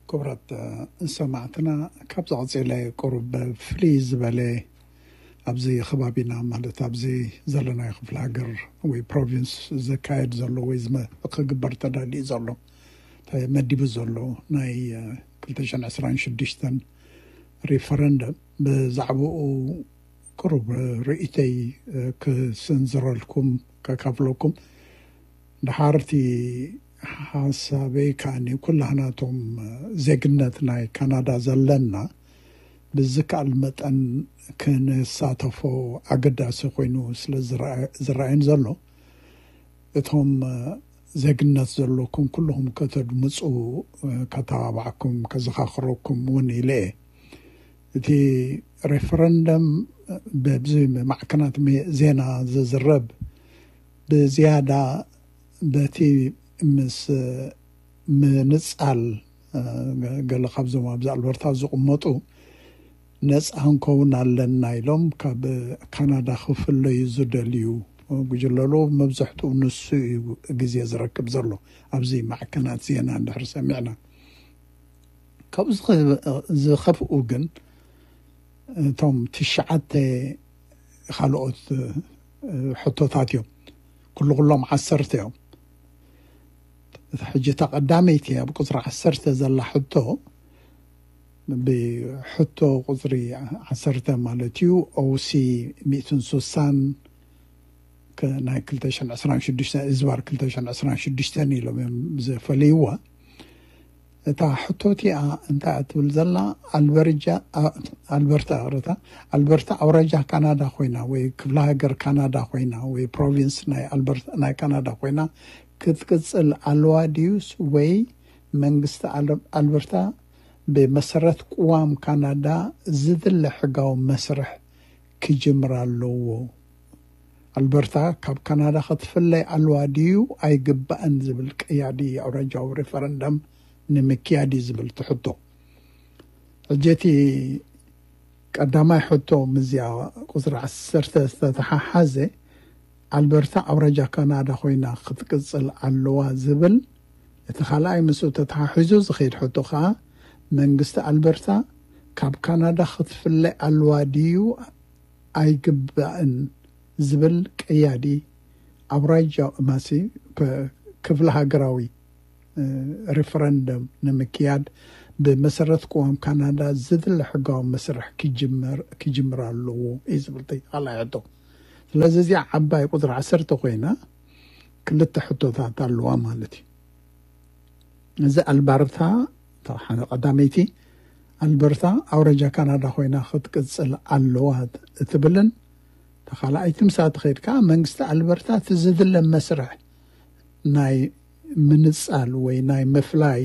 ክቡራት ሰማዕትና፣ ካብ ዝቐጸለ ቁሩብ ፍልይ ዝበለ ኣብዚ ከባቢና፣ ማለት ኣብዚ ዘለናዮ ክፍለ ሃገር ወይ ፕሮቪንስ ዝካየድ ዘሎ ወይ ዝመ-፣ ክግበር ተዳልዩ ዘሎ፣ ተመዲቡ ዘሎ ናይ ክልተ ሽሕን ዕስራን ሽዱሽተን ሪፈረንደም፣ ብዛዕባኡ ቅሩብ ርእይተይ ክስንዝረልኩም፣ ከካፍለኩም። ድሓርቲ ሓሳበይ ከኣኒ፣ ኩላህናቶም ዜግነት ናይ ካናዳ ዘለና ብዝከኣል መጠን ክንሳተፎ ኣገዳሲ ኮይኑ ስለ ዝረኣ-፣ ዝረኣየን ዘሎ፣ እቶም ዜግነት ዘለኩም ኩልኹም ከተድምፁ ከተባባዕኩም፣ ከዘኻኽረኩም እውን ኢለ እየ። እቲ ሬፈረንደም በብዚ ማዕከናት ሜ-፣ ዜና ዝዝረብ ብዝያዳ በቲ ምስ ምንጻል፣ እ፣ ገለ ካብዞም ኣብዚ ኣልበርታ ዝቕመጡ ነጻ ክንከውን ኣለና ኢሎም ካብ ካናዳ ክፍለዩ ዝደልዩ ጉጅለሉ መብዛሕትኡ ንሱ እዩ ግዜ ዝረክብ ዘሎ። ኣብዚ ማዕከናት ዜና እንድሕር ሰሚዕና፣ ካብኡ ዝኸ-፣ ዝኸፍኡ ግን እቶም ትሽዓተ ካልኦት፣ እ፣ ሕቶታት እዮም። ኩሉ ኩሎም ዓሰርተ እዮም። እታ ሕጂ እታ ቀዳመይቲ ኣብ ቁጽሪ ዓሰርተ ዘላ ሕቶ፣ ብሕቶ ቁጽሪ ዓሰርተ ማለት እዩ፣ ኦሲ ሚእትን ሱሳን ከ-፣ ናይ ክልተ ሽሕን ዕስራን ሽዱሽተ፣ እዝባር ክልተ ሽሕን ዕስራን ሽዱሽተን ኢሎም እዮም ዝፈልይዋ። እታ ሕቶ እቲኣ እንታይ እያ ትብል ዘላ? ኣልበርጃ-፣ ኣ-፣ ኣልበርታ፣ ይቕረታ፣ ኣልበርታ ኣውራጃ ካናዳ ኮይና ወይ ክፍለ ሃገር ካናዳ ኮይና ወይ ፕሮቪንስ ናይ ኣልበርታ፣ ናይ ካናዳ ኮይና ክትቅጽል ኣለዋ ድዩስ ወይ መንግስቲ ኣል-፣ ኣልበርታ ብመሰረት ቅዋም ካናዳ ዝድለ ሕጋዊ መስርሕ ክጅምር ኣለዎ? ኣልበርታ ካብ ካናዳ ክትፍለይ ኣለዋ ድዩ ኣይግባእን ዝብል ቀያዲ ኣውራጃዊ ሬፈረንደም ንምክያድ እዩ ዝብል እቲ ሕቶ። ሕጂ እቲ ቀዳማይ ሕቶ ምስዚኣ ቁጽሪ ዓሰርተ ዝተተሓሓዘ፣ ኣልበርታ ኣውራጃ ካናዳ ኮይና ክትቅጽል ኣለዋ ዝብል፣ እቲ ካልኣይ ምስኡ ተተሓሒዙ ዝኸይድ ሕቶ ከኣ፣ መንግስቲ ኣልበርታ ካብ ካናዳ ክትፍለ ኣለዋ ድዩ ኣይግባእን ዝብል ቀያዲ ኣውራጃ ማሲ፣ ክ-፣ ክፍለ ሃገራዊ፣ እ፣ ሪፈረንደም ንምክያድ ብመሰረት ቅዋም ካናዳ ዝድለ ሕጋዊ መስርሕ ክጅመር፣ ክጅምር ኣለዎ እዩ ዝብል እቲ ካልኣይ ሕቶ። ስለዚ እዚኣ ዓባይ ቁጽሪ ዓሰርተ ኮይና ክልተ ሕቶታት ኣለዋ ማለት እዩ። እዚ ኣልበርታ፣ እታ ሓደ ቀዳመይቲ፣ ኣልበርታ ኣውራጃ ካናዳ ኮይና ክትቅጽል ኣለዋ እትብልን፣ እታ ካልኣይቲ፣ ምሳ ትኸይድ ከኣ መንግስቲ ኣልበርታ እቲ ዝድለ መስርሕ ናይ ምንጻል ወይ ናይ ምፍላይ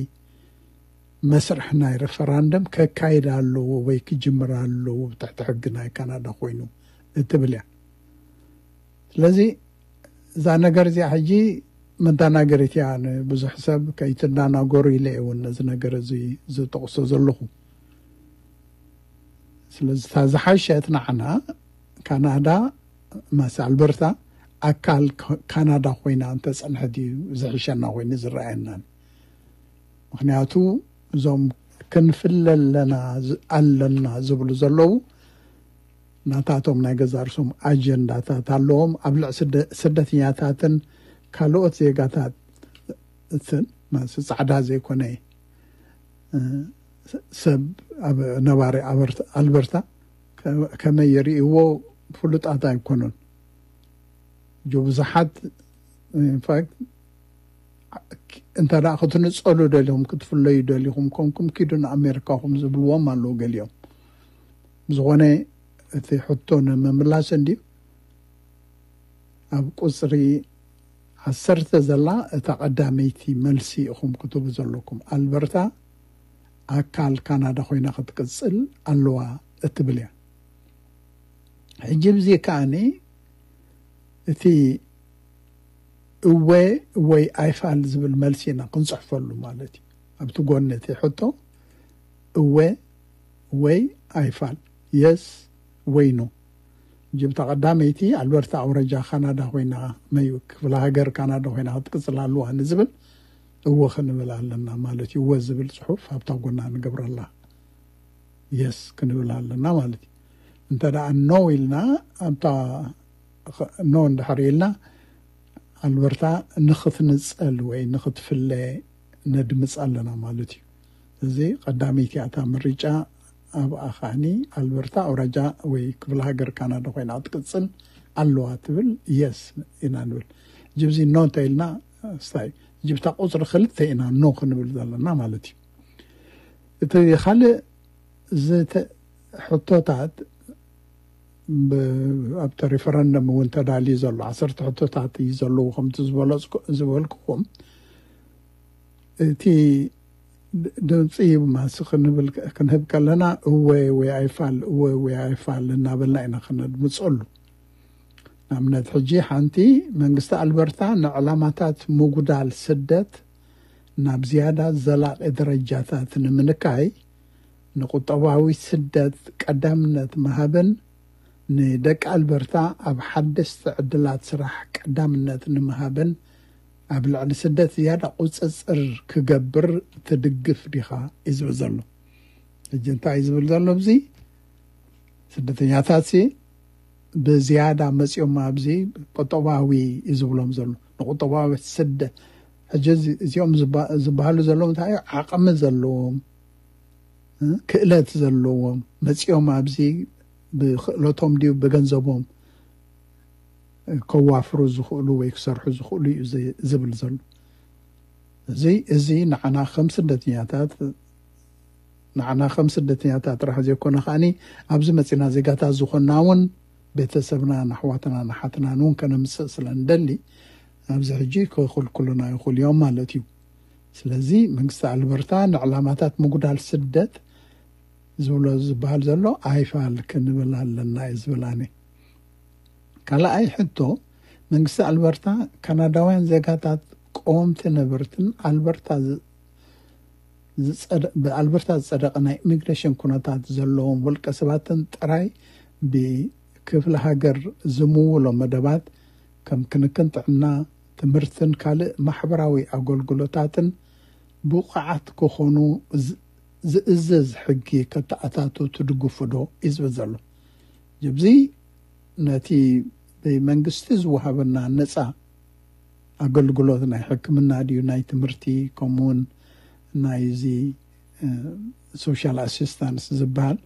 መስርሕ ናይ ሪፈራንደም ከካይድ ኣለዎ ወይ ክጅምር ኣለዎ፣ ብትሕቲ ሕጊ ናይ ካናዳ ኮይኑ እትብል እያ። ስለዚ እዛ ነገር እዚኣ ሕጂ መደናገሪት እያ፣ ንብዙሕ ሰብ ከይትደናገሩ ኢለ እየ እውን ነዚ ነገር እዚ ዝጠቕሶ ዘለኹ። ስለዚ እታ ዝሓሸት ንዓና ካናዳ፣ ማስ ኣልበርታ ኣካል ካ-፣ ካናዳ ኮይና እንተጸንሐት እዩ ዝሕሸና ኮይኑ ዝረኣየና። ምኽንያቱ እዞም ክንፍለ ኣለና ዝ-፣ ኣለና ዝብሉ ዘለዉ ናታቶም ናይ ገዛ ርእሶም ኣጀንዳታት ኣለዎም። ኣብ ልዕ ስደ-፣ ስደተኛታትን ካልኦት ዜጋታትን፣ ማስ ጻዕዳ ዘይኮነ፣ እ፣ ሰብ ኣብ ነባሪ ኣበርት-፣ ኣልበርታ ከ-፣ ከመይ የርእይዎ ፍሉጣት ኣይኮኑን። ጆ ብዙሓት፣ ኢንፋክት፣ እንተ ደኣ ክትንጸሉ ደሊኹም፣ ክትፍለዩ ደሊኹም ኮንኩም፣ ኪዱ ንኣሜሪካኹም ዝብልዎም ኣለዉ ገሊኦም። ብዝኾነ፣ እቲ ሕቶ ንምምላስ እንድዩ፣ ኣብ ቁጽሪ ዓሰርተ ዘላ እታ ቀዳመይቲ መልሲ ኢኹም ክትህቡ ዘለኩም። ኣልበርታ ኣካል ካናዳ ኮይና ክትቅጽል ኣለዋ እትብል እያ። ሕጂ ብዚ ከኣኒ እቲ እወ ወይ ኣይፋል ዝብል መልሲ ኢና ክንጽሕፈሉ ማለት እዩ። ኣብቲ ጎኒ እቲ ሕቶ እወ ወይ ኣይፋል፣ የስ ወይ ኖ። ጅብታ ቀዳመይቲ ኣልበርታ ኣውራጃ ካናዳ ኮይና፣ መዩ ክፍለ ሃገር ካናዳ ኮይና ክትቅጽል ኣለዋ ንዝብል፣ እወ ክንብል ኣለና ማለት እዩ። እወ ዝብል ጽሑፍ ኣብታ ጎና ንገብረላ፣ የስ ክንብል ኣለና ማለት እዩ። እንተ ደኣ ኖ ኢልና፣ ኣብታ ኖ እንድሕር ኢልና፣ ኣልበርታ ንኽትንጸል ወይ ንኽትፍለ ነድምጽ ኣለና ማለት እዩ። እዚ ቀዳመይቲ እያ እታ ምርጫ። ኣብኣ ከዓኒ ኣልበርታ ኣውራጃ ወይ ክፍለ ሃገር ካናዳ ኮይና ክትቅጽል ኣለዋ ትብል፣ የስ ኢና ንብል። ጅብዚ ኖ እንተ ኢልና፣ ስታይ ጅብታ ቁጽሪ ክልተ ኢና ኖ ክንብል ዘለና ማለት እዩ። እቲ ካልእ ዝተ-፣ ሕቶታት ብ-፣ ኣብቲ ሪፈረንደም እውን ተዳልዩ ዘሎ ዓሰርተ ሕቶታት እዩ ዘለዎ። ከምቲ ዝበለጽኩ-፣ ዝበልኩኹም፣ እቲ ድ-፣ ድምፂ ማስ ክንብል፣ ክንህብ ከለና፣ እወ ወይ ኣይፋል፣ እወ ወይ ኣይፋል እናበልና ኢና ክነድምፀሉ። ንኣብነት፣ ሕጂ ሓንቲ፣ መንግስቲ ኣልበርታ ንዕላማታት ምጉዳል ስደት ናብ ዝያዳ ዘላቒ ደረጃታት ንምንካይ፣ ንቁጠባዊ ስደት ቀዳምነት ምሃብን ንደቂ ኣልበርታ ኣብ ሓደስቲ ዕድላት ስራሕ ቀዳምነት ንምሃብን ኣብ ልዕሊ ስደት ዝያዳ ቁጽጽር ክገብር ትድግፍ ዲኻ? እዩ ዝብል ዘሎ። ሕጂ እንታይ እዩ ዝብል ዘሎ? እዚ ስደተኛታት ሲ ብዝያዳ መጺኦም ኣብዚ ቁጠባዊ እዩ ዝብሎም ዘሎ። ንቁጠባዊ ስደ-፣ ሕጂ እዚ-፣ እዚኦም ዝባ-፣ ዝበሃሉ ዘለዉ እንታይ እዩ? ዓቕሚ ዘለዎም፣ እ፣ ክእለት ዘለዎም፣ መጺኦም ኣብዚ ብክእለቶም ድዩ ብገንዘቦም ከዋፍሩ ዝኽእሉ ወይ ክሰርሑ ዝኽእሉ እዩ ዝ-፣ ዝብል ዘሎ። እዚ፣ እዚ ንዓና ከም ስደተኛታት፣ ንዓና ከም ስደተኛታት ጥራሕ ዘይኮነ ከኣኒ፣ ኣብዚ መጺና ዜጋታት ዝኾንና እውን ቤተሰብናን ኣሕዋትናን ኣሓትናን እውን ከነምጽእ ስለ ንደሊ፣ ኣብዚ ሕጂ ክኽልክሉና ይኽእሉ እዮም ማለት እዩ። ስለዚ መንግስቲ ኣልበርታ ንዕላማታት ምጉዳል ስደት ዝብሎ ዝበሃል ዘሎ ኣይፋል ክንብል ኣለና እዩ ዝብል ኣነ። ካልኣይ ሕቶ፣ መንግስቲ ኣልበርታ ካናዳውያን ዜጋታት ቀወምቲ ነበርትን ኣልበርታ ዝ-፣ ዝጸደ-፣ ብኣልበርታ ዝጸደቐ ናይ ኢሚግሬሽን ኩነታት ዘለዎም ውልቀ ሰባትን ጥራይ ብክፍለ ሃገር ዝምውሎ መደባት ከም ክንክን ጥዕና፣ ትምህርትን ካልእ ማሕበራዊ ኣገልግሎታትን ብቑዓት ክኾኑ ዝ-፣ ዝእዝዝ ሕጊ ከተኣታቱ ትድግፉ ዶ? እዩ ዝብል ዘሎ። ጅብዚ ነቲ ብመንግስቲ ዝወሃበና ነጻ ኣገልግሎት ናይ ሕክምና ድዩ፣ ናይ ትምህርቲ፣ ከምኡውን ናይ እዚ፣ እ፣ ሶሻል ኣሲስታንስ ዝበሃል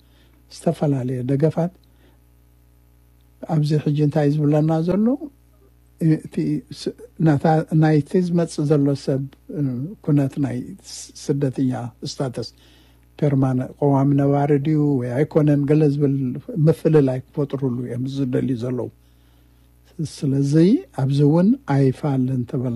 ዝተፈላለየ ደገፋት ኣብዚ ሕጂ እንታይ ዝብለና ዘሎ? እቲ ስ-፣ ናታ-፣ ናይቲ ዝመጽእ ዘሎ ሰብ፣ እ፣ ኩነት ናይ ስ-፣ ስደተኛ ስታተስ ፐርማነ-፣ ቀዋሚ ነባሪ ድዩ ወይ ኣይኮነን፣ ገለ ዝብል ምፍልላይ ክፈጥሩሉ እዮም ዝደልዩ ዘለዉ። ስለዚ ኣብዚ እውን ኣይፋልን ተበልና።